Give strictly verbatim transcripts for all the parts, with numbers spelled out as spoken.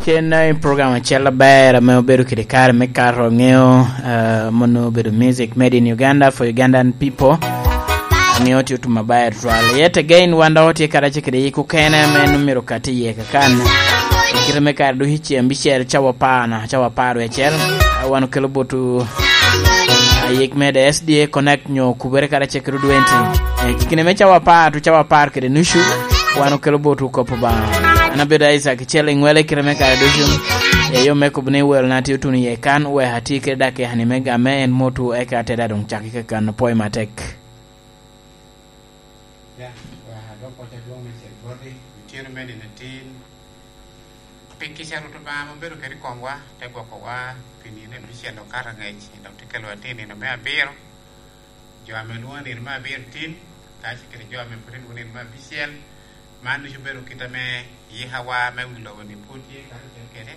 Kena i program acel aber ame obedo kede kare me kato, ŋeo, ah, mono obedo music made in Uganda for Ugandan people. Ŋeo tye otum aber twal. Yet again, wan dok otye kara ce kede yik okene ame en omyero okat iye kakan. I kite me kare ducu i cem bicel cawa apar na, cawa apar wie acel. Ah, wan okelo botwu, ah, yik me the S D A Connect nyo kubere kara ce kede twenty. Eh, kine me cawa apar to cawa apar kede nucu, wan okelo botwu kop Obaŋa. An abedo Isaac Cel Iŋwele, kite me kare ducu. E yo me kobo ni wel na tye otuno iye kan, wek ati kede dakika ni me game en motu eka ateda doŋ caki kakan, opwoyo matek. Ya, wa, adwoko pwoc adwoŋ me cel boti, otyeno me nino atin. Pi kica Rwot Obaŋa ma obedo kede i komwa, te gwokowa pi nino abicel okato angec, dok te kelowa tye i nino me abiro. Jo ame lwoŋo nino me abiro tin, kacel kede jo ame pwod elwoŋo nino me abicel, man ducu obedo kit ame yikawa me wi lobo-ni pwod tye karacel kede.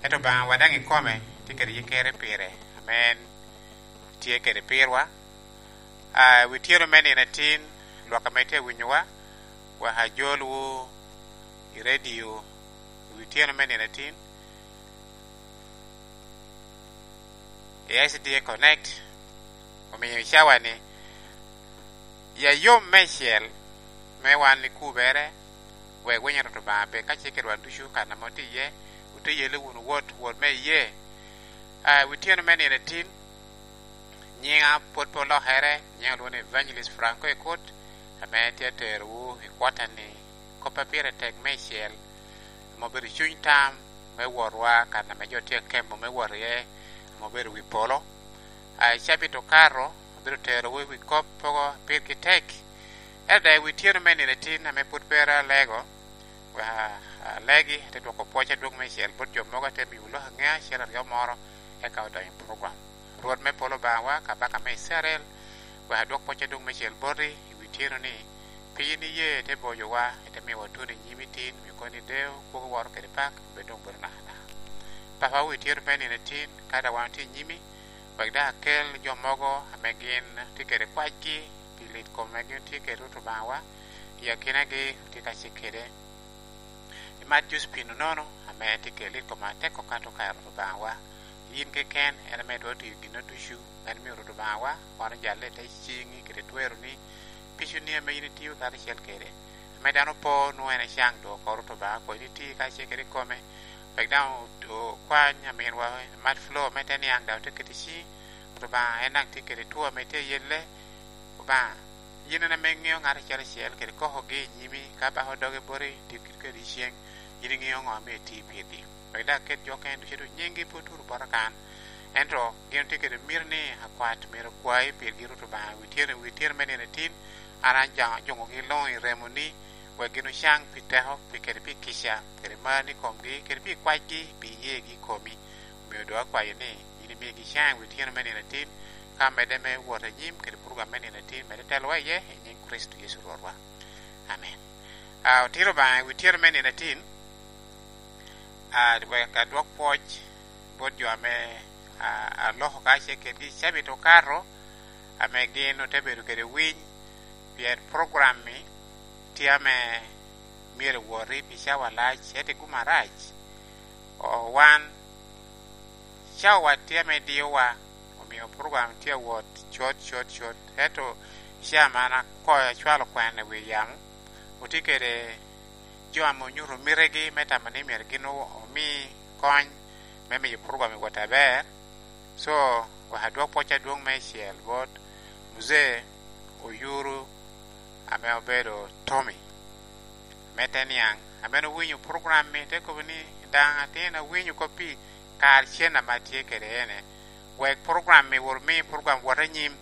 Ento Obaŋawa daŋ ikome tye kede yikkere pire, ame en tye kede pirwa. Ah, wi tyeno me nino atin, lwak ame tye awinyowa, wek ajolwu i redio wi tyeno me nino atin, i S D A Connect, omiyo i cawa-ni, ya yom meicel me wan ikubere, wek winyo Rwot Obaŋa bed kacel kede wan ducu kan ame otye iye, ote yelle wunu wot, wot me iyee. Ah, wi tyeno me nino atin, nyiŋa pwod pe olokere, nyiŋa olwoŋo ni Evangelist Franco Ekot, ame tye aterowu i kwota-ni. Kop a pire tek meicel, ame obedo cuny tam me wotwa, kan ame jo tye akemo me wot iye, ame obedo wi polo. A, cabit okato, obedo terowu i wi kop mogo pirgi tek. Ento daŋ i wi tyeno me nino atin ame pwod pe alego, wek a-, alegi, ate dwoko pwoc adwoŋ meicel bot jo mogo, ate miyowu lok aŋea acel aryo moro, eka odonyo i program. Rwot me polo Obaŋawa, Kabaka me Icrael, wek adwok pwoc adwoŋ meicel boti i wi tyeno-ni, pien iye te bojowa, ite miyowa tuno i nyimi tin, omio koni deyo, kwogo, woro kede pak, bed doŋ bedo nakanaka. Papa, wi tyeno me nino atin, ka daŋ wan otye i nyimi, wek daŋ akel jo mogo ame gin tye kede kwacgi pi lit kom ame gin tye kede Rwot Obaŋawa i akinagi, tye kacel kede Imat Josephine Onono, ame tye kede lit kom atek okato ka Rwot Obaŋawa. Yin keken en ame twero tiyo ginnoro ducu, en miyo Rwot Obaŋawa, wan ojalle i te ciŋi kede tweroni, piconi ame yin itio karacel kede. Ame dano po nwoŋo en ecaŋ dwoko, Rwot Obaŋa, koni iti kacel kede i kome, wek daŋ o-, okwany aminwa Imat Flo me te niaŋ daŋ ote keto i ciŋi. Rwot Obaŋa, en daŋ tye kede two ame tye ayelle. Obaŋa, yin en ame iŋeo ŋat acel acel kede kokogi i nyimi, ka bako doge boti, tye kit kede i ceŋ, yin iŋeo ŋo ame itye pirgi. Wek daŋ aket jo okene ducu, nyiŋgi pe oturo bota kan, ento gin otye kede miti ni akwat myero okwayi pirgi, Rwot Obaŋa, wi tyeno, wi tyeno me nino atin, an ajaŋo, ajoŋogi luŋ i remoni, wek gin ocaŋ pi teko, pi kede pi kica, kede marni i komgi, kede pi kwacgi, pi iyeegi i komi. Omio doŋ akwayo ni, yin imigi caŋ i wi tyeno me nino atin, ka medde me wot anyim kede program me nino atin, medde telowa iye i nyiŋ Kricito Yecu Rwotwa. Amen. Ah, otito Obaŋa i wi tyeno me nino atin, ah, wek adwok pwoc bot jo ame, ah, aloko kacel kedgi i cabit okato, ame gin ote bedo kede winy, pien program-mi tye ame myero ewoti pi cawa lac, ento i gum arac, o, wan, cawa tye ame diyowa, omio program tye awot cot, cot, cot. Ento ca man akoyo acwalo kwena i wi yamo, otye kede jo ame onyuto mitegi me tamo ni myero gin o-, omi kony me miyo program-mi wot aber. So, wek adwok pwoc adwoŋ meicel bot Muzee Oyuru ame obedo Tommy me te niaŋ, ame en owinyo program-mi, te kobo ni, "Daŋ atin awinyo kop pi kare cen ame atye kede ene, wek program-mi wot omi program wot anyim."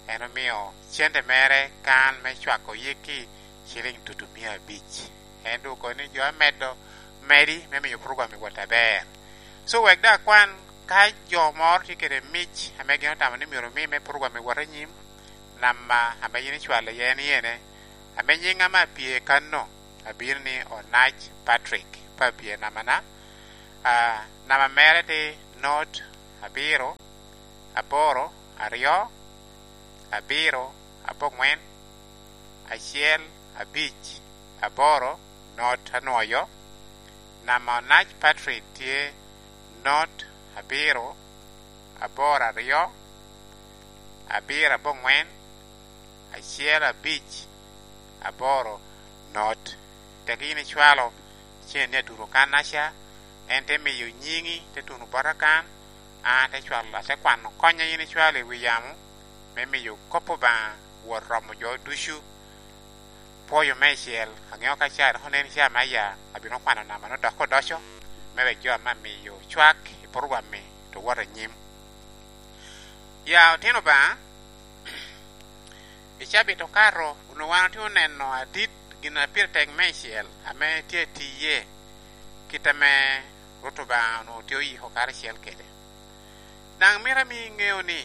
En omio cente mere kan me cwako yikki ciliŋ tutu mia abic. En doŋ okobo ni jo amedo medi me miyo program-mi wot aber. So, wek daŋ akwan, ka jo moro tye kede mic ame gin otamo ni myero omi me program-mi wot anyim, namba ame yin icwalo iye en iyene, ame nyiŋ ame apye kanno, abino ni Onac Patrick, pe apye namana. Ah, namba mere tye not abiro, aboro, aryo, abiro, aboŋwen, acel, abic, aboro, not anwoyo. Namba Onac Patrick tye not abiro aboro aryo, abiro aboŋwen, acel abic, aboro not. Teke yin icwalo cen ni atuno kannaca, en te miyo nyiŋi te tuno bota kan, an te cwalo, ate kwano kony a yin icwalo i wi yamo, me miyo kop Obaŋa wot romo jo ducu. Pwoyo meicel, aŋeo ka ca dok onen ca me aya, abino kwano namba no dok odoco, me wek jo ame amiyo cwak i program-mi to wot anyim. Ya otino Obaŋa, i cabit okato, onwoŋo wan otye oneno adit gin a pire tek meicel ame tye atiye, kit ame Rwot Obaŋa onwoŋo tye oyiko karacel kede. Daŋ myero ami iŋeo ni,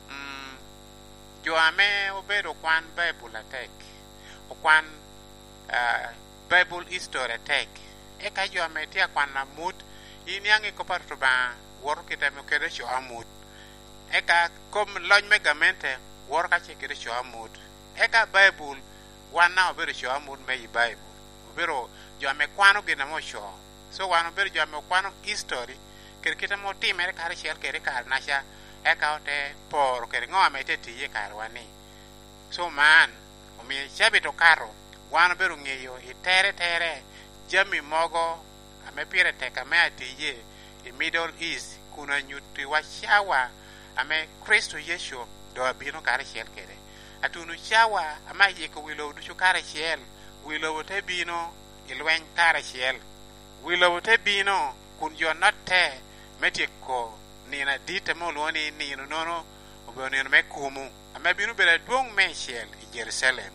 mm, jo ame obedo okwan Baibul atek, okwan, ah, Bible history atek, eka jo ame tye akwano amut, iniaŋ i kop a Rwot Obaŋa woto kit ame oketo co amut, eka kom loc me gamente woto ka ce keto co amut, eka Baibul, wan daŋ obedo co amut me i Baibul, obedo jo ame kwano gin ame ocoo. So wan obedo jo ame okwano history kede kit ame otimere karacel kede i kare-naca, eka ote poro kede ŋo ame tye tiye i karewa-ni. So man omio i cabit okato, wan obedo ŋeyo i tere tere jami mogo ame pire tek ame atiye i Middle East, kun anyuttiwa cawa ame Kricito Yecu doŋ abino karacel kede. Atuno cawa ame ayiko wi lobo ducu karacel, wi lobo te bino i lweny karacel. Wi lobo te bino kun jo notte me tyeko nino adit ame olwoŋo ni nino-nono obedo nino me kumo, ame bino bedo adwoŋ meicel i Jerucalem.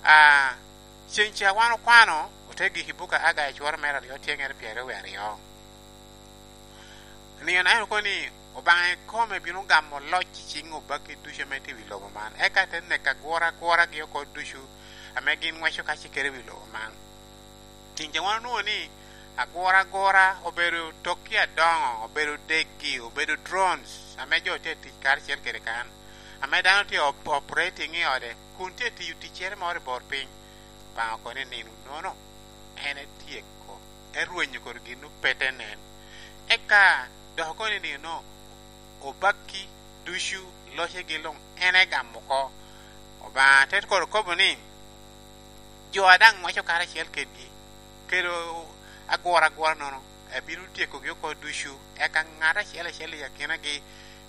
A, ceŋ ca wan okwano, ote gik i buk a Agai cworo mere aryo tyeŋere pyeraryo wie aryo. Nino na en okobo ni, Obaŋa ikome bino gamo loc i ciŋ obakki ducu ame tye i wi lobo man, eka te neko agwora agworagi oko ducu ame gin ŋweco kacel kede i wi lobo man. Tin ca wan onwoŋo ni agwora agwora obedo tokki adoŋo, obedo deggi, obedo drones ame jo tye atic karacel kede kan, ame dano tye op-, operating i ode kun tye tiyo ticcere moro i bor piny. Obaŋa okobo ni nino nono en etyeko, erwenyo kodi gin pe te nen. Eka dok okobo ni nino obakki ducu, locegi luŋ en egamo oko. Obaŋa te koro kobo ni, jo a daŋ ŋweco karacel kedgi, kede agwora agwora nono, ebino tyekogi oko ducu, eka ŋat acel acel i akinagi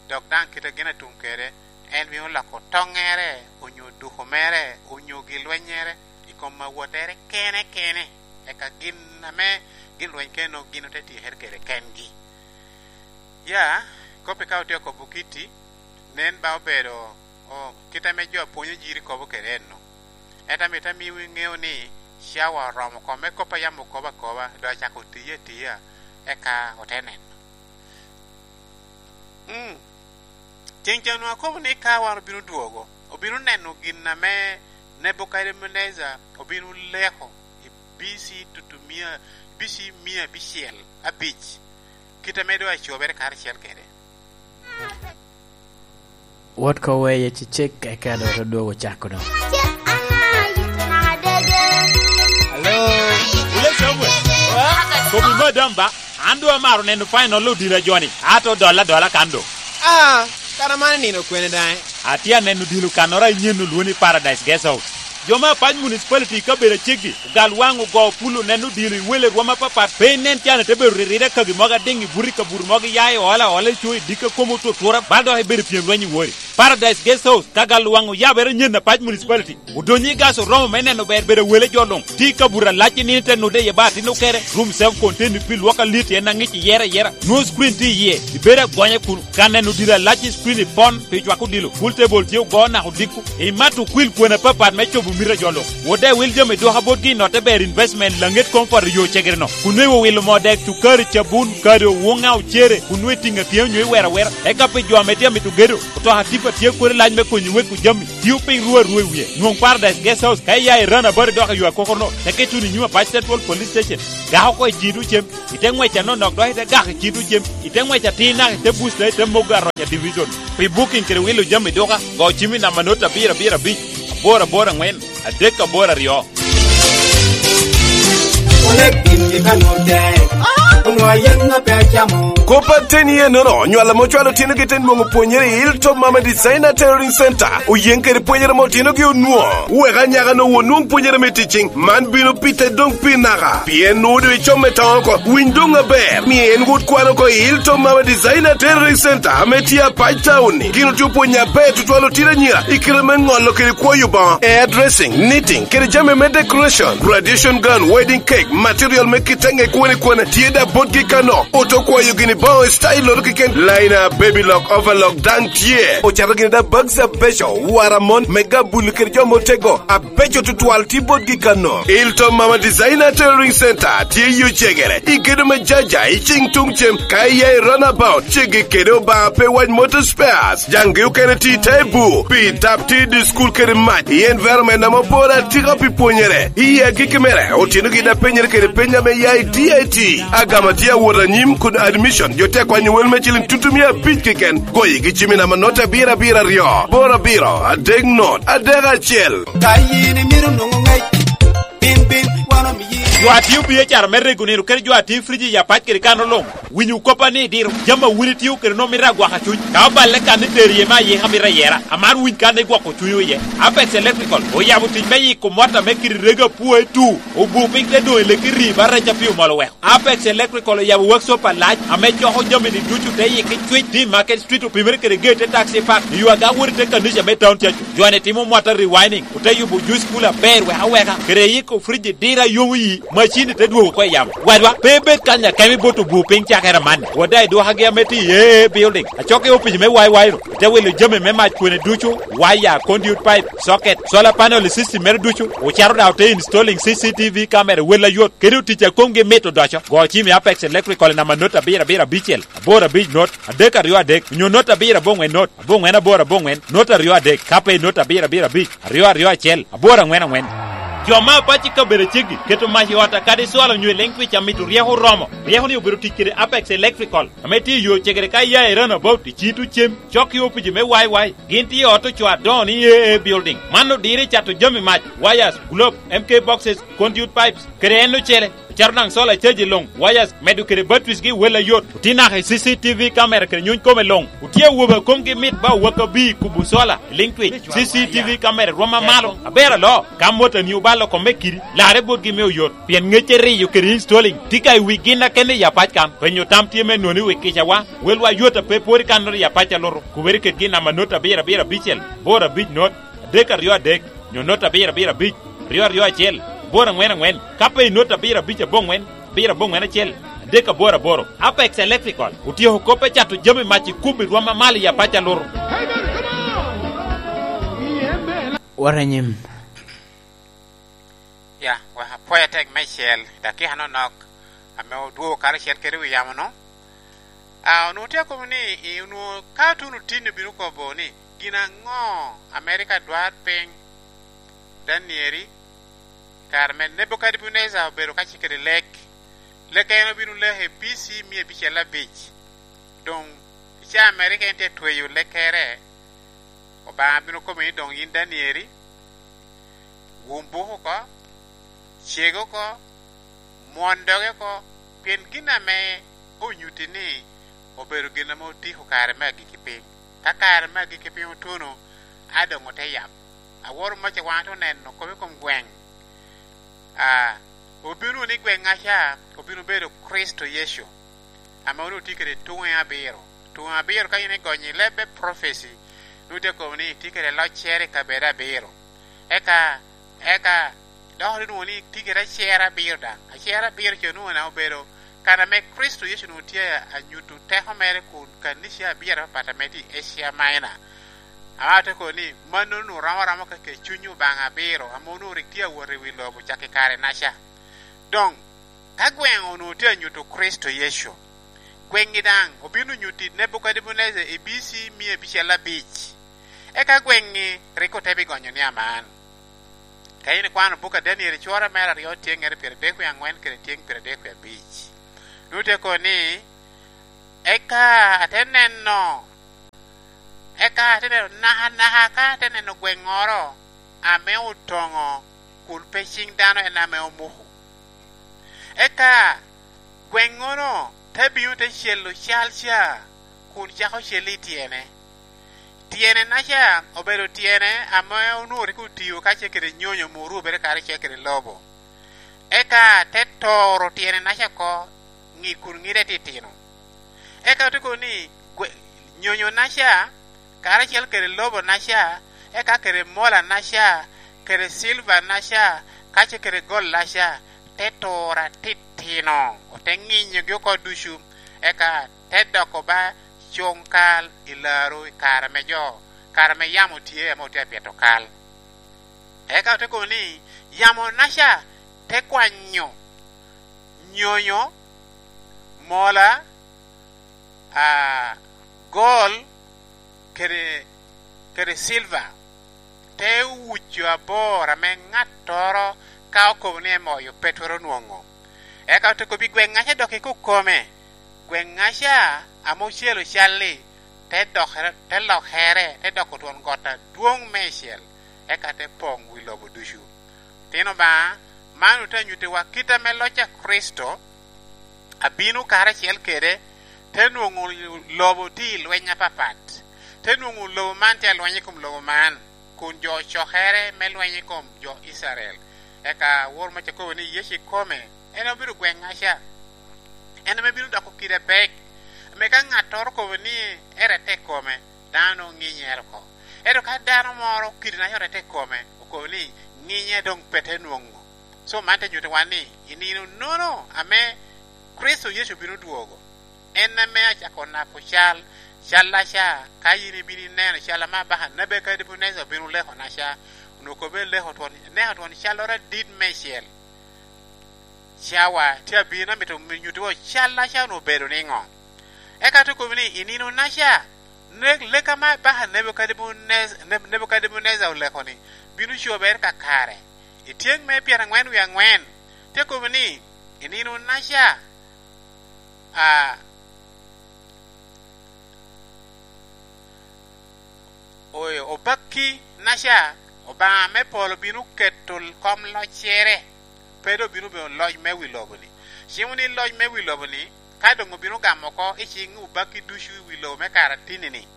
dok daŋ kite gin atuŋ kede, en bino loko toŋŋere, onyo duko mere, onyo gin lwennyere i kom awottere kene kene, eka gin ame gin lweny kene nwoŋo gin ote tyekere kede kengi. Ya, kop-pi ka otye akobo kitti, nen ba obedo, o, kit ame jo a pwonyo jiri kobo kede ennu. Ento amito amiwu iŋeo ni cawa oromo oko me kop a yam okobo akoba, doŋ acako tiye atiya, eka ote neno. Mm. Ceŋ ca onwoŋo akobo ni ka wan obino dwogo, obino neno gin ame Nebukadnejar obino leko i B C tutu mia, B C mia abicel abic, kit ame doŋ acobere karacel kede. Wot ko weye cicek, eka doŋ te dwogo cako doŋ. Alo, wule Samuel. Kobi madam ba, an doŋ amaro neno final odilo a joni, ato dola dola kan doŋ. Ah, kara man nino kwene daŋ? Atye aneno odilo kannoro a nyen olwoŋo ni Paradise Guest House. Jo me Apac Municipality i kabedo aceggi, ogal waŋ ogo pulo neno odilo i wele rwom apapat. Pe inen can ite bedo riride kagi mogo adiŋ i buto i kabuto mogo iya i ola ola i co i dikka kom otutura, bal dok ibedo pyem lweny i wori. Paradise Guest House, ka gal waŋ oyabere nyen Apac Municipality, odonyo i gas oromo me neno ber bedo wele jo luŋ. Tye i kabuto alac i nino ite nude iye ba atin okere, room self contained pi lwok alit en aŋic iyere ayera. Nwoŋo screen tye iye, ibedo agonya kun ka neno odilo alac i screen i pon, pi cwako odilo, pool table tye ogo naka odiko. Imato okwil kwena apapat me cobo mito a jo luŋ. Wode wil jami dwoka botgi i notte ber investment laŋet comfort i yo cegere no. Kun nwe iwilo moo dek, cukari, cabun, kado, wuŋa, ocere, kun nwe itiŋ atyeŋ onyo iwero awera. Eka pi jo ame tye amito gedo, otoka tipa tye kodi lac me konyi weko jami. Tio piny ru arua i wie. Nwoŋ Paradise Guest House ka iya i Rana Bari dok i yo akoko no, teke ituno i nyim Apac Central Police Station. Gako oko i ciŋ tucem. Ite ŋwec anonok dok ite gak i ciŋ tucem, ite ŋwec atir naka ite busta ite mogo aronya division. Pi booking kede wilo jami duka, go cim i namba not abiro abiro abic, aboro aboro aŋwen, adek aboro aryo. Tek gin i kanur tek. Onwoŋo ayen ŋa pe acamo. Kop ateni enono, nywal ame ocwalo otinogi te nwoŋo pwonyere i Hilltop Mama Designer Tailoring Center, oyeŋ kede pwonyere ame otinogi onwoŋo. Wek anyaka-nu onwoŋ pwonyere me ticing, man bino pite doŋ pi naka, pien nwoŋo doŋ icome toŋ oko. Winy doŋ aber, mi en wot kwan oko i Hilltop Mama Designer Tailoring Center ame tye Apac Town-ni. Gin otye opwonyo aber tutwal otino anyira i kite me ŋolo kede kwoyo boŋo, hairdressing, knitting, kede jami me decoration, graduation gown, wedding cake, material me kite ŋe kwone kwone, tye da botgi kano. Oto kwayo gini boŋo i style-loto keken, liner, baby lock, overlock, daŋ tye. Ocato gini da bags abeco, wara mon, me gabulu kede jo motego, abeco tutwal tye botgi kano. Ilton Mama Designer Tailoring Center tye i Ocegere, i gedo me Jaja, i cing tuŋ cem, ka iya i runabout, ceggi kede Obaŋa pe wac Motor Spares. Jaŋgi okene tye i te bur, pi tap tye i dye cukul kede mac, i environment ame oporo atika pi pwonyere. I agikki mere, otinogi daŋ penyere kede peny ame ya i D I T. Agama tye awot anyim kun admission, jo tye akwanyo wel me ciliŋ tutumia abic keken. Goyigi cim i namba not abiro abiro aryo, aboro abiro, adek not, adek acel. Ka yin imito nwoŋo ŋec, bin, bin, wan omiyi. Jo a tio biacara me rego nino kede jo a tio friji i Apac kede kano luŋ. Winyo koppa ni diro jami a wun itio kede nwoŋo mito agwaka cuny. Ka oballe kan ni tero iye me ayika mito ayera, amaro winy kan ni gwoko cunywu iye. Apex Electrical oyabo tic me yiko mot ame kite rego apwoe tu, obu piny te doŋ i leki rii ba reca pi omol oweko. Apex Electrical oyabo workshop alac ame coko jami-ni ducu te yiki cwic, tye i Market Street, opimere kede geyi te taxi park, i yo aga wot i te kanica me town cacu. Jo-ni timo mota rewinding, ote yubo juice cooler aber wek aweka, kede yiko fridge diro a yomo yi, macin-ni te dwogo oko i yamo. Wadwa, pe ibed kany akemo ibot obur piny cakere amanni. Wada idwokagi ame tye i A A Building, acok i opic me Y Y ru, ite wilo jami me mac kwene ducu, waya, conduit pipe, socket, solar panel i system mere ducu, ocaro daŋ ote installing C C T V camera wel ayot, kede otic a komgi mit odoco. Go cim i Apex Electrical i namba not abiro abiro abicel, aboro abic not, adek aryo adek, onyo not abiro aboŋwen not, aboŋwen aboro aboŋwen, not aryo adek, ka pe not abiro abiro abic, aryo aryo acel, aboro aŋwen aŋwen. Jo me Apac i kabedo aceggi keto mac i ot akadi cwalo onyo i liŋ twic amito ryeko oromo. Ryeko-ni obedo tic kede Apex Electrical, ame tye i yo cegere ka iya i runabout i cito cem, cok i opici me Y Y. Gin tye i ot ocoo adoŋo ni A A Building. Man odiro i cato jami mac, wires, globe, M K boxes, conduit pipes, kede en ocele. Ocaro daŋ solar charge luŋ, wires, medo kede batteries gi wel ayot. Otye naka i C C T V camera kede nyuny kome luŋ. Otye awobe a komgi mit ba owak abir kubo solar, liŋ twic, C C T V camera rwom amalo. Aber aloo, ka motani obalo kome kidi, larre botgi me oyot. Pien ŋecce riyo kede installing tye ka i wi gin akene i Apac kan. Penyo tam tye me nwoŋo i wi kicawa, welwa yot a pe pwod i kannoro i Apac alutu. Kubere kede gin namba not abiro abiro abicel, bor abic not, adek aryo adek, nyo not abiro abiro abic, aryo aryo acel, bor aŋwen aŋwen, ka pe i not abiro abic aboŋwen, abiro aboŋwen acel, adek aboro aboro. Apex Electrical otyeko kop me cato jami mac i kubi rwom amalo i Apac alutu. Wot anyim. Ya, wek apwoya tek meicel, dakika nonok ame odwogo karacel kede wi yamo-nu. A, onwoŋo tye akobo ni, i, onwoŋo ka tuno tin obino kobo ni, "Gin aŋo Amerika dwar piny?" Danieri, kare me Nebukadnezzar obedo ka cik kede lek. Lek en obino lek i B C mia abicel abic. Doŋ i caa Amerika en tye tweyo lekkere, Obaŋa bino kobo ni, "Doŋ yin Danieri, wum buko oko, ceg oko, mwon doge oko, pien gin ame onyutti-ni obedo gin ame otiko kare me agikki piny. Ka kare me agikki piny otuno, a doŋ ote yam." Aworo mac a waŋ te oneno kop i kom gweŋ. A, obino ni gweŋŋaca obino bedo Kricito Yecu, ame onwoŋo tye kede tuŋe abiro. Tuŋe abiro ka in igonyo i leb me prophecy, nwoŋo tye kobo ni tye kede loccere i kabedo abiro. Eka, eka, dok onwoŋo ni tye kede acer abiro daŋ. Acer abiro ca onwoŋo daŋ obedo kan ame Kricito Yecu onwoŋo tye anyuto teko mere kun kanica abiro apapat ame tye i Asia Minor. Ame atye kobo ni, mannono onwoŋo romo aroma ka kec cuny Obaŋa abiro, ame onwoŋo rik tye awot i wi lobo cak i kare-naca. Doŋ, ka gweŋ onwoŋo tye anyuto Kricito Yecu, gweŋŋi daŋ obino nyutti Nebukadnezzar i B C mia abicel abic. Eka gweŋŋi rik ote bigonyo ni aman. Ka in ikwano buk a Daniel, cwora mere aryo, tyeŋŋere pyeradek wie aŋwen kede tyeŋ pyeradek wie abic, nwoŋo tye kobo ni, "Eka ate neno, eka ate neno nakanaka, ka ate neno gweŋŋoro ame otoŋo, kun pe ciŋ dano en ame omuko." Eka gweŋŋono te bino te celo cal ca, kun cako celle i tyene. Tyene-naca obedo tyene ame onwoŋo rik otio ka ce kede nyonyo murubere karacel kede lobo. Eka te toro tyene-naca oko, ŋit kun ŋide titino. Eka ote kobo ni, gwe-, nyonyo-naca, karacel kede lobo-naca, eka kede mola-naca, kede silva-naca, ka ce kede gol-naca, te turo atitino, ote ŋinyogi oko ducu, eka te doko ba cuŋ kal i laro i kare ame jo, kare ame yamo tye ame otye apito kal. Eka ote kobo ni, yamo-naca te kwanyo nyonyo, mola, a, gol, kede, kede silva, te wuco abor ame ŋattoro ka okobo ni emoyo pe twero nwoŋo. Eka ote kobbi gweŋŋaca dok i kokome, gweŋŋaca ame ocelo cal-li te dokere, te lokere, te doko twon got adwoŋ meicel, eka te poŋ wi lobo ducu. Tino Obaŋa, man ote nyuttiwa kit ame loc a Kricito abino karacel kede, te nwoŋo lobo tye i lweny apapat, te nwoŋo lobo man tye alweny i kom lobo man, kun jo ocokere me lweny i kom jo Icrael. Eka woro mac akobo ni Yecu ikome, en obedo gweŋŋaca, en ame bino doko kide bek, ame ka ŋattoro okobo ni erette i kome, dano ŋinyere oko. Ento ka dano moro kidi-naca orette i kome, okobo ni ŋinye doŋ pe te nwoŋo. So, man te nyuttiwa ni, i nino nono ame Kricito Yecu bino dwogo, en ame acako nako cal, cal-naca, ka yin ibino ineno cal ame abaka Nebukadnejar obino leko-naca, onwoŋo kobbe leko twon, ineko twon calloro adit meicel. Cawa tye abino amito nyuttiwa cal-naca onwoŋo obedo niŋo. Eka te kobo ni, i nino-naca, ne-, lek ame abaka Nebukadnez-, Neb-, Nebukadnejar oleko-ni bino cobere kakare. I tyeŋ me pyeraŋwen wie aŋwen, te kobo ni, i nino-naca, a, o-, obakki-naca, Obaŋa me polo bino keto kom loccere, pe doŋ bino bedo loc me wi lobo-ni. Cimo ni loc me wi lobo-ni, ka doŋ obino gamo oko i ciŋ obakki ducu i wi lobo me kare atinni-ni,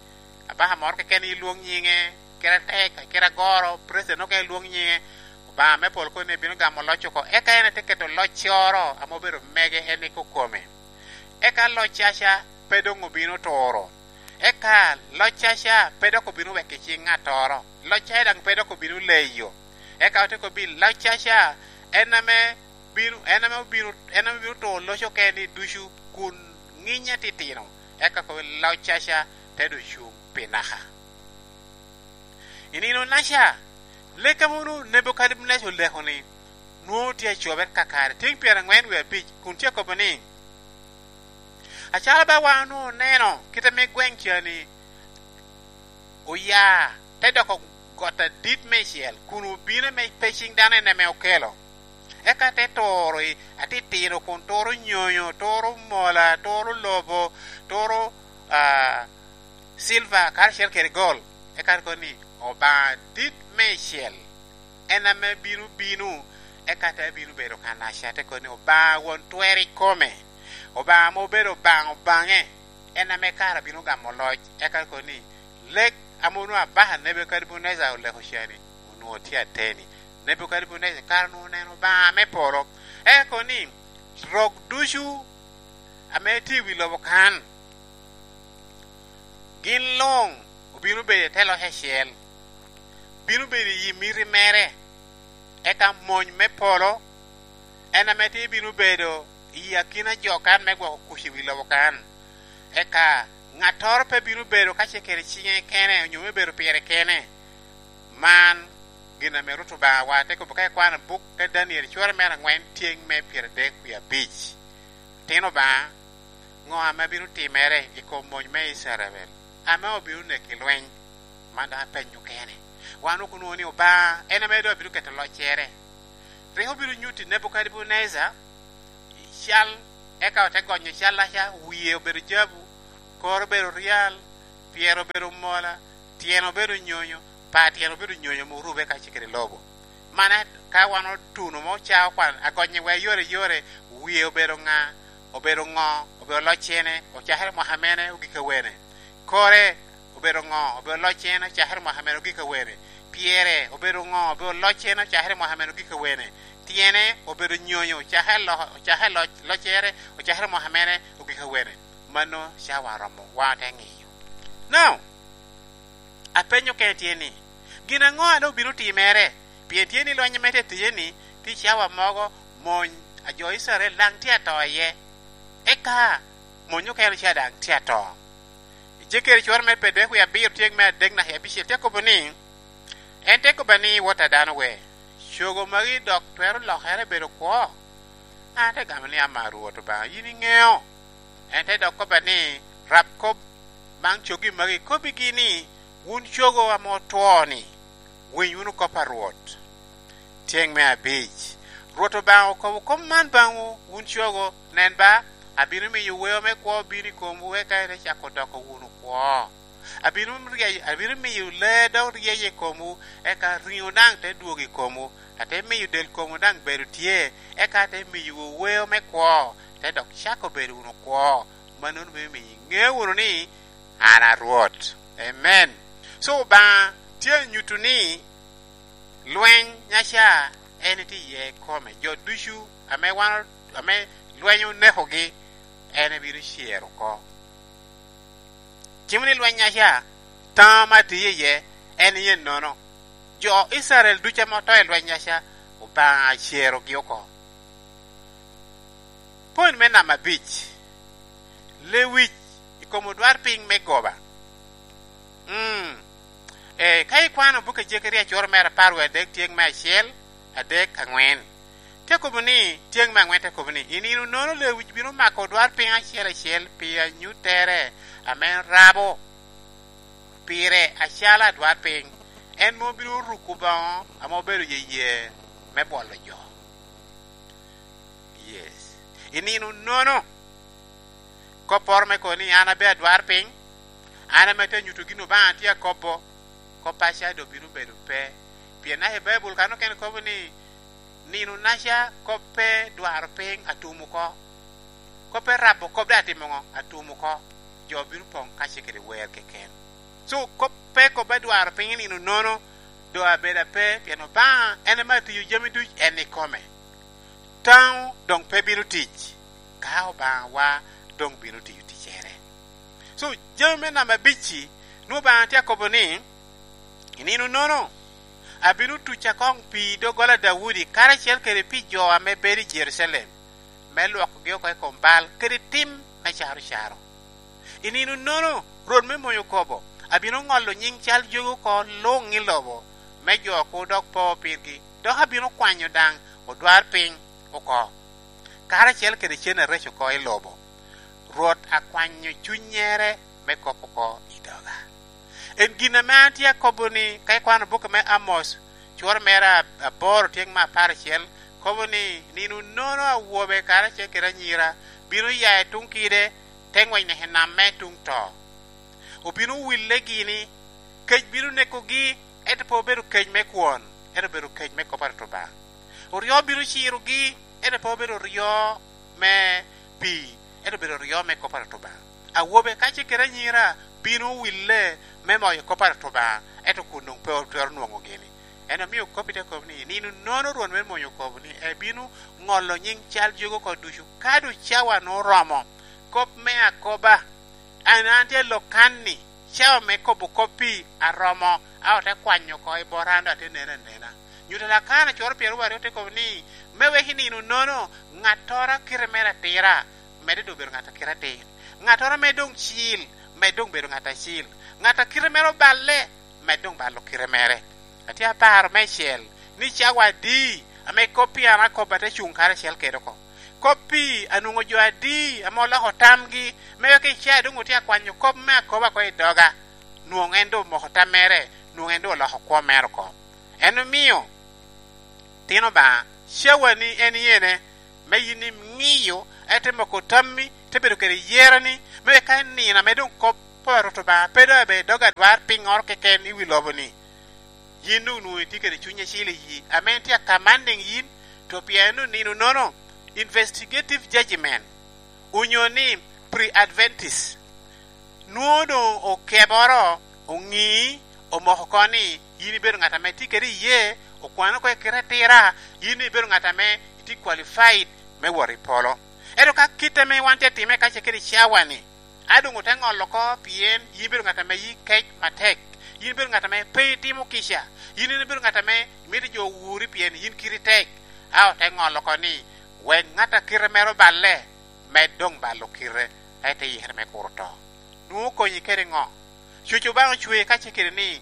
abaka moro keken i lwong nyiŋe, kite atek, kite agoro, president okene i lwong nyiŋe, Obaŋa me polo koni bino gamo loc oko, eka en ete keto loccoro ame obedo mege en i kokome. Eka loccaca pe doŋ obino turo, eka loccaca pe dok obino weko i ciŋ ŋattoro, loccaca daŋ pe dok obino leyo. Eka ote kobbi, loccaca en ame bino, en ame obino, en ame bino turo loc okene ducu kun ŋiny atitino, eka kobbi loccaca te doŋ cuŋ pi naka. I nino-naca, lek ame onwoŋo Nebukadnejar oleko-ni nwoŋo tye acobere kakare, tyeŋ pyeraŋwen wie abic, kun tye akobo ni, acalo ba wan onwoŋo oneno kite ame gweŋ ca-ni oya, te doko got adit meicel, kun obino ame pe ciŋ dano en ame okelo. Eka te turo i atitino kun turo nyonyo, turo mola, turo lobo, turo, a, silva karacel kede gol. Eka te kobo ni, Obaŋa dit meicel, en ame bino bino, eka te bino bedo kanaca, te kobo ni, Obaŋa won twer ikome, Obaŋa ame obedo Obaŋa obaŋe, en ame kara bino gamo loc. Eka te kobo ni, lek ame onwoŋo abaka Nebukadnejar oleko ca-ni, onwoŋo tye ateni. Nebukadnejar kara onwoŋo oneno Obaŋa me polo. Eka kobo ni, rok ducu ame tye i wi lobo kan, gin luŋ obino bedo i te loc acel, bino bedo i yi miti mere, eka mony me polo, en ame tye bino bedo i akina jo kan me gwoko kuc i wi lobo kan. Eka ŋattoro pe bino bedo ka ce kede ciŋe kene, onyo me bedo pire kene. Man gin ame Rwot Obaŋawa te kobo ka ikwano buk te Daniel, cware mere aŋwen, tyeŋ me pyeradek wie abic. Tin Obaŋa, ŋo ame bino timere i kom mony me Icrael, ame obino neko i lweny? Man dok apenyo kene. Wan ok onwoŋo ni Obaŋa en ame doŋ abino keto loccere. Rik obino nyutti Nebukadnejar i cal, eka ote gonyo cal-laca, wie obedo jabu, kore obedo ryal, pyere obedo mola, tyene obedo nyonyo, pa tyene obedo nyonyo ame orube ka ce kede lobo. Mana ka wan otuno mo ca okwan, agonye wea yore yore, Wie obedo ŋa, obedo ŋo, obedo loccene, ocakere mwaka mene, ogik awene. Kore obedo ŋo, obedo loccene, ocakere mwaka mene, ogik awene. Pyere obedo ŋo, obedo loccene, ocakere mwaka mene, ogik awene. Tyene obedo nyonyo, ocakere lo-, ocakere loc-, loccere, ocakere mwaka mene, ogik awene. Mano cawa romo, wan ote ŋiyo. Now, apenyo kene tye ni, gin aŋo ame obino timere? Pien tye ni lweny ame tye tiye ni, tye cawa mogo mony a jo Icrael daŋ tye ato iye. Eka mony okene ca daŋ tye ato. Ejekeri cwor mere Pedek wie abiro tyeng me adek naka i abicel te kobo ni, en te kobba ni, "Wot a dano we, cogo magi dok twero lokere bedo kwo?" An te gamo ni, "Ama Rwot Obaŋa, yin iŋeo." En te dok kobba ni, "Rab kop baŋ cogi magi, kobbigi ni, 'Wun cogo ame otwo-ni, winy wunu kop a Rwot.'" Tyeng me abic, Rwot Obaŋa okobo kop man baŋwu, wun cogo, 'Nen ba, abino miyo weo me kwo bino i komwu, eka ite cako doko wunu kwo. Abino rye-, abino miyo lee dok ryeye i komwu, eka riŋo daŋ te dwogo i komwu. Ate miyo del komwu daŋ bedo tye, eka ate miyowu weo me kwo, te dok cako bedo wunu kwo. Mannono bino miyo iŋeo wunu ni an a Rwot." Amen. So, Obaŋa tye anyuto ni lweny nyaca en tye iye ikome. Jo ducu ame wan, ame lweny onekogi, en ebino cero oko. Cimo ni lweny nyaca, taŋo ma tye iye, en iye nono. Jo Icrael ducu ame oto i lweny nyaca, Obaŋa acerogi oko. Pony me namba abic, lewic i kom odwar piny me goba. Mm. Eh, ka ikwano buk a Jekaria coro mere apar wie adek tyeng me acel, adek, aŋwen, te kobo ni, tyeng me aŋwen te kobo ni, "I nino nono lewic bino mako odwar piny acel acel pi anyuttere ame en rabo pire acalo adwar piny. En mom bino ruko boŋo ame obedo yeye me bwolo jo." Yes. I nino nono, kopporo me kobo ni, "An abe adwar piny, an ame atye anyuto gin Obaŋa tye akobo," kop aca doŋ bino bedo pe. Pien naka i Baibul kan okene kobo ni, "Nino naca kop pe dwaro piny atum oko. Kop pe rabo kop daŋ atimo ŋo? Atum oko." Jo bino poŋ kace kede wer keken. So, kop pe kop adwaro piny i nino nono, doŋ abedo ape, pien Obaŋa en ame atiyo jami duc en ikome. Taŋo doŋ pe bino tic, ka Obaŋawa doŋ bino tiyo ticcere. So, jami me namba abic-ci, nwoŋo Obaŋa tye akobo ni, "I nino nono, abino tuca koŋ pi doggola a Daudi, karacel kede pi jo ame bedo i Jerucalem, me lwokogi oko i kom bal kede tim me caro caro." I nino nono, Rwot me mony okobo, "Abino ŋolo nyiŋ cal jogi oko luŋ i lobo, me jo kur dok po pirgi, dok abino kwanyo daŋ odwar piny oko, karacel kede cen areco oko i lobo." Rwot akwanyo cunnyere me kop oko i doga. En gin ame an tye akobo ni, ka ikwano buk me Amos, cwor mere ab-, aboro tyeng me apar acel, kobo ni, "Nino nono awobe karacel kede anyira bino ya i tuŋ kide, te ŋwec naka i nam me tuŋ to. Obino wille gini, kec bino nekogi, ento pe obedo kec me kwon, ento obedo kec me kop a Rwot Obaŋa. Oryo bino cirogi, ento pe obedo oryo me pii, ento obedo oryo me kop a Rwot Obaŋa. Awobe ka ce kede anyira bino wille me moyo kop a Rwot Obaŋa, ento kun doŋ pe otwero nwoŋo gini." En omio kop i te kop ni, "Nino nono Rwot me mony okobo ni, ebino ŋolo nyiŋ cal jogi oko ducu, ka doŋ cawa-nu oromo." Kop me akoba, an, an tye lok kan ni, cawa me kobo kop-pi aromo, a ote kwanyo oko i bot an, dok ate neno anena. Nyuto Lakana coro pyeraryo aryo te kobo ni, me wek i nino nono, ŋattoro a kite mere atira, medde doŋ bedo ŋat a kite atir. Ŋattoro ame doŋ cil, med doŋ bedo ŋat acil. Ŋat a kite mere oballe, med doŋ balo kite mere. Atye aparo meicel ni cawa adi ame kop-pi an akobo ate cuŋ karacel kede oko. Kop-pi anwoŋo jo adi ame oloko tamgi, me wek i ca doŋ otye akwanyo kop me akoba oko i doga, nwoŋo en doŋ omoko tam mere, nwoŋo en doŋ oloko kwo mere oko. En omio, tino ba, cawani en yene, me yin iŋiyo, ete moko tammi, te bedo kede yerani, me wek ka nino ame doŋ kop a Rwot Obaŋa pe doŋ abe dog adwar piŋŋoro keken i wi lobo-ni, yin doŋ nwoŋo itye kede Cuny Acil i yi, ame en tye a commanding yin, to pien onino nono, investigative judgment, onyo ni pre-adventist, nwoŋo doŋ okeboro, oŋii, omoko oko ni yin ibedo ŋat ame tye kede iye, okwano oko i kite atira, yin ibedo ŋat ame itye qualified me wot i polo. Ento ka kit ame wan tye time ka ce kede cawa-ni, a doŋ ote ŋolo oko pien yin ibedo ŋat ame yi kec matek, yin ibedo ŋat ame pe itimo kica, yin ibedo ŋat ame imito jo owuri pien yin kiri tek, a ote ŋolo oko ni wek ŋat a kite mere oballe, med doŋ balo kite, ete yikere me kur oto. Nwoŋo okonyi kede ŋo? Coco Obaŋa ocwee ka ce kede ni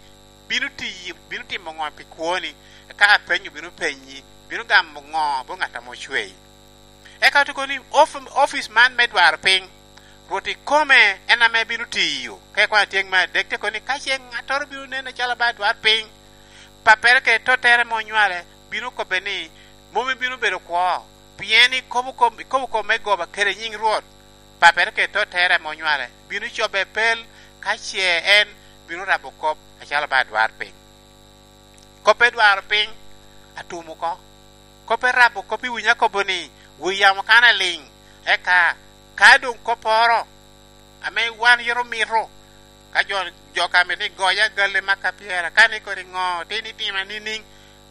bino tiyi, bino timo ŋo pi kwoni, ka apenyo bino penyi, bino gamo ŋo bot ŋat ame ocwei? Eka ote kobo ni, "Of-, ofic man me dwaro piny, Rwot ikome en ame bino tiyo." Ka ikwan atyeng me adek, te kobo ni, "Ka ce ŋattoro bino nen acalo ba adwar piny, pappere kede tottere ame onywale bino kobbe ni, 'Mom ibino bedo kwo, pien ikobo kop, ikobo kop me goba kede nyiŋ Rwot.' Pappere kede tottere ame onywale bino cobbe pel, ka ce en bino rabo kop acalo ba adwar piny." Kop me dwaro piny atum oko. Kop me rabo kop iwinyo akobo ni, "Wi yamo kan aliŋ." Eka ka doŋ kopporo ame wan yero mito, ka jo, jo ka mito ni goya galle maka pyera, ka ni kodi ŋo, tin itima niniŋ,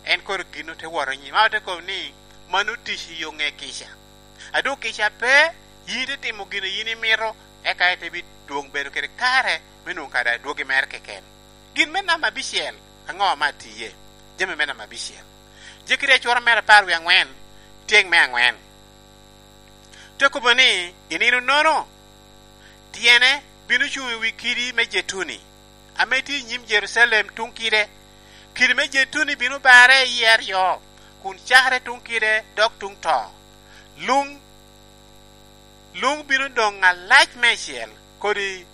en kodi gin ote woro nyim. A ote kobo ni, "Mano tic i yo ŋe kica." A doŋ kica pe, yin ite timo gin yin imito, eka ite bi dwoŋ bedo kede kare me nwoŋo kare adwogi mere keken. Gin me namba abicel, aŋo ame atiye? Jami me namba abicel. Jekiri acwero mere apar wie aŋwen, tyeng me aŋwen. Te kobo ni, "I nino nono, tyene bino cuŋ i wi kidi me Jetuni, ame tye i nyim Jerucalem tuŋ kide. Kidi me Jetuni bino barre iye aryo, kun cakere tuŋ kide dok tuŋ to. Luŋ, luŋ bino doŋ alac meicel, kodi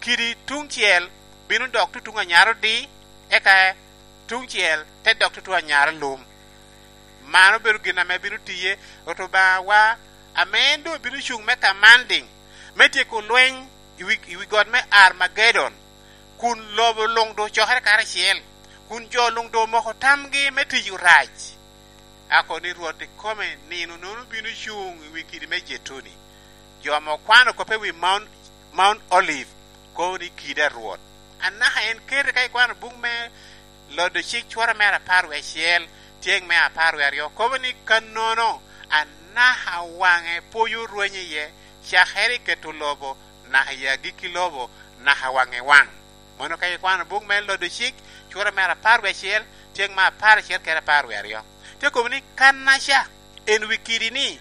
kidi tuŋ cel bino dok tutuŋ anyarodi, eka tuŋ cel te dok tutuŋ anyarolum." Man obedo gin ame bino tiye Rwot Obaŋawa, ame en doŋ bino cuŋ me commanding, me tyeko lweny i wi, i wi got me Armagedon, kun lobo luŋ doŋ ocokere karacel, kun jo luŋ doŋ omoko tamgi me tiyo rac. Ako ni Rwot ikome nino nono bino cuŋ i wi kidi me Jetuni. Jo ame okwano kop i wi Mount, Mount Olive kobo ni, "Kidi a Rwot." Anaka en kete ka ikwano buk me Lodo Cik cwora mere apar wie acel, tyeng me apar wie aryo, kobo ni, "Kannono anaka waŋe pwony orwenyo iye, cakere i keto lobo naka i agikki lobo naka waŋ i waŋ." Mano ka ikwano buk me Lodo Cik, cwora mere apar wie acel, tyeng me apar acel kede apar wie aryo. Te kobo ni, "Kannaca, en wi kidi ni,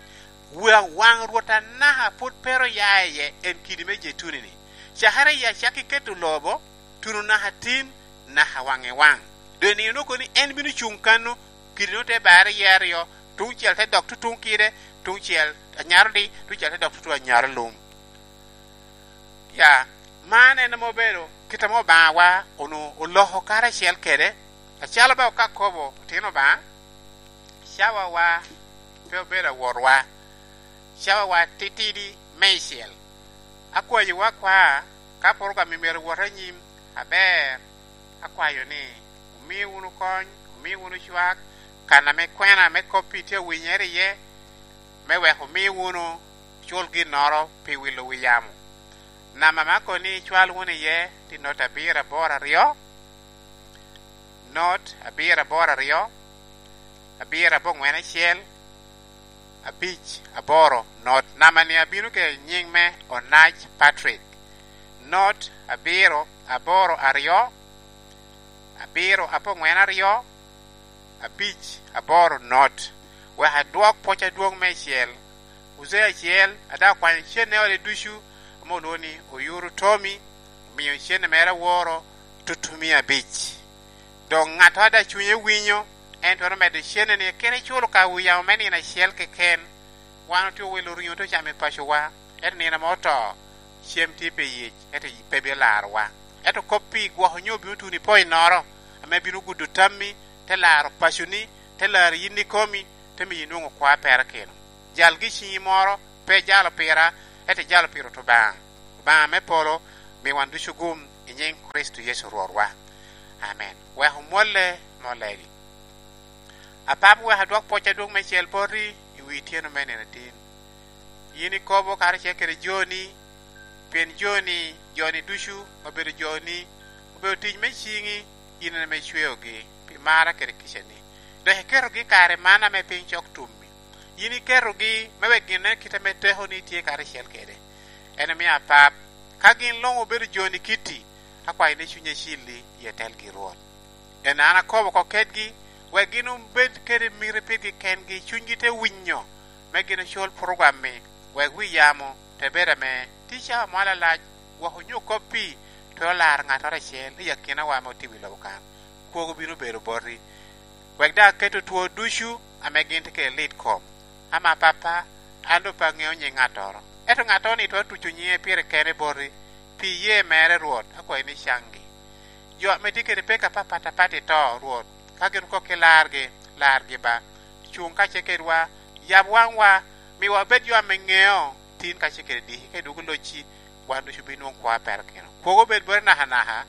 wa-, waŋ Rwot anaka pwod pe ru oya iye, en kidi me Jetuni-ni. Cakere i acakki keto lobo, tuno naka tin, naka waŋ i waŋ." Doŋ nino kobo ni en bino cuŋ kanno, kidi-nu te barre iye aryo, tuŋ cel te dok tutuŋ kide, tuŋ cel anyarodi, tuŋ cel te dok tutuŋ anyarolum. Ya, man en ame obedo kit ame Obaŋawa onwoŋo oloko karacel kede, acalo ba okakobo otino Obaŋa, cawawa pe obedo awotwa, cawawa titidi meicel. Akwayowu akwa, ka pwod ogamo myero wot anyim aber, akwayo ni omi wunu kony, omi wunu cwak, kan ame kwena me kop-pi tye awinyere iye, me wek omi wunu cul ginnoro pi wilo wi yamo. Namba me akoni icwal wunu iye tye not abiro aboro aryo, not abiro aboro aryo, abiro aboŋwen acel, abic aboro not. Namba-ni abino kede nyiŋ me Onac Patrick, not abiro aboro aryo, abiro aboŋwen aryo, abic aboro not. Wek adwok pwoc adwoŋ meicel. Ucee acel a daŋ okwanyo cenne ode ducu, ame olwoŋo ni Oyuru Tomi, omio cene mere aworo tutumia abic. Doŋ ŋattoro a daŋ cunye winyo, en twero medo cene-ni kede culo ka wi yamo me nino acel keken. Wan otye owilo riŋo te ocamo i pacowa, ento nino ame oto, cem tye pe yic, ento pe bino larowa. Ento kop pi gwoko nyo bino tuno i poinoro, ame bino gudo tammi, te laro paconi, te laro yin ikomi, te miyo inwoŋo kwa perakino. Jalgi ciŋi moro, pe jalo pira, ento ijalo pi Rwot Obaŋa, Obaŋa me polo. Mi wan ducu gum i nyiŋ Kricito Yecu Rwotwa. Amen. Wek omwolle, mollegi. Apamo wek adwok pwoc adwoŋ meicel boti i Wi tyeno me nino tin. Yin ikobo karacel kede joni, pien joni, joni ducu obedo joni, obedo tic me ciŋi, yin en ame icweogi pi marra kede kicani, dok iketogi i kare man ame piny cok tummi. Yin iketogi me wek gin nen kit ame tekoni tye karacel kede. En omio apap, ka gin luŋ obedo joni kitti, akwayo ni cuny acilli i etelgi, Rwot. En an akobo oko kedgi, wek gin obed kede miti pirgi kengi, cunygi te winyo, me gin ocul purogwam-mi, wek wi yamo te bed ame tic cawa mo alalac, gwok onyo kop-pi twero laro ŋattoro acel i akinawa ame otye i wi lobo kan. Kwogo bino bedo boti, wek daŋ aket otwo ducu ame gin tye kede lit kom. Ama Pappa, an doŋ pe aŋeo nyiŋ ŋattoro, ento ŋattoro-ni twero tuco nyiŋe pire kene boti, pi iyee mere, Rwot, akwayi ni caŋgi. Jo ame tye kede peko apapat apat i to, Rwot, ka gin okokki largi, largi ba. Cuŋ kacel kedwa, yab waŋwa, miwa wabed jo ame ŋeo tin kacel kede diki, ka idwogo locci, wan ducu binwoŋo kwo a perakino. Kwogo bed boti nakanaka,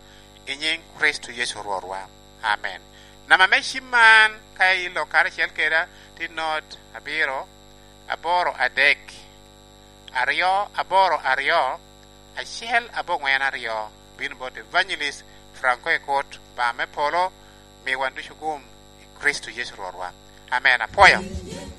i nyiŋ Kricito Yecu Rwotwa. Amen. Namba me cim man, ka ilo karacel keda, tye not abiro, aboro adek, aryo, aboro aryo, acel, aboŋwen aryo. Bino bot Evangelist Franco Ekot, Obaŋa me polo, mi wan ducu gum i Kricito Yecu Rwotwa. Amen. Apwoyo.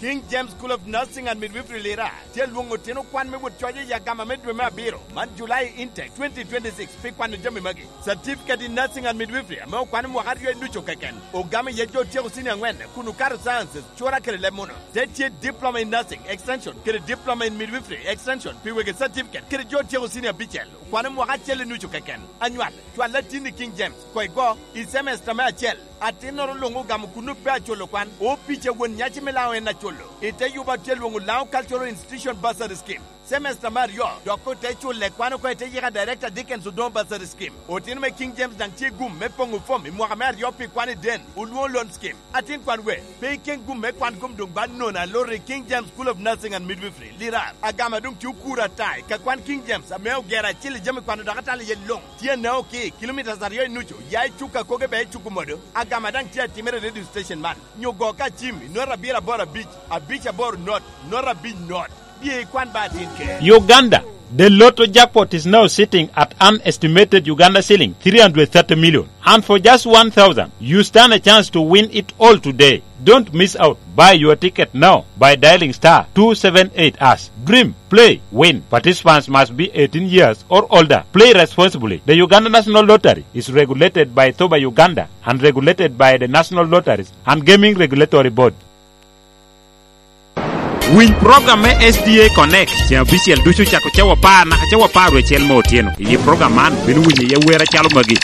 King James School of Nursing and Midwifery Lira tye alwoŋo otino kwan me wot coc i agama me dwe me abiro man, July intake twenty twenty-six, pi kwano jami magi: Certificate in Nursing and Midwifery ame okwano mwaka aryo i ducu keken, ogamo iye jo otyeko cini aŋwen kun okato sciences, cura kede leb muno. Te tye Diploma in Nursing Extension kede Diploma in Midwifery Extension pi wegi certificate kede jo otyeko cini abicel, okwano mwaka acel i nucu keken. Anywal, cwal atin i King James, koŋ igo i cemesta me acel. Atinnoro luŋ ogamo kun ope aculo kwan, opic a won nyaci me Lango en aculo, i te yubo a tye alwoŋo Lango Cultural Institution Bursary Scheme. Cemesta me aryo dok ote culle kwan oko i te yika Director Dickens Odongo Bursary Scheme. Otino me King James daŋ tye gum me poŋo fom i mwaka me aryo pi kwan i den, olwoŋo Loan Scheme. Atin kwan we, pe iken gum me kwan gum doŋ ba nono alota i King James School of Nursing and Midwifery, Lirar, agama doŋ tye okuro ata i ka kwan King James ame ogero acil i jami kwano dok atalo iye luŋ. Tye anaŋo ki kilomitas aryo i nucu ya i Cuka Koge bea i Cukumodo, agama daŋ tye atimere i radio station man. Nyo go ka cim i not abiro aboro abic, abic aboro not, not abic not. Dye ikwan ba atin ker. Uganda, the lotto jackpot is now sitting at an estimated Uganda shilling three hundred thirty million. And for just one thousand, you stand a chance to win it all today. Don't miss out. Buy your ticket now by dialing star two seven eight hash. Dream, play, win. Participants must be eighteen years or older. Play responsibly. The Uganda National Lottery is regulated by thoba Uganda and regulated by the National Lotteries and Gaming Regulatory Board. Winy program me S D A Connect ceŋ abicel ducu cako cawa apar naka cawa apar wiye acel me otyeno. I program man, bino winyo iye wer acalo magi: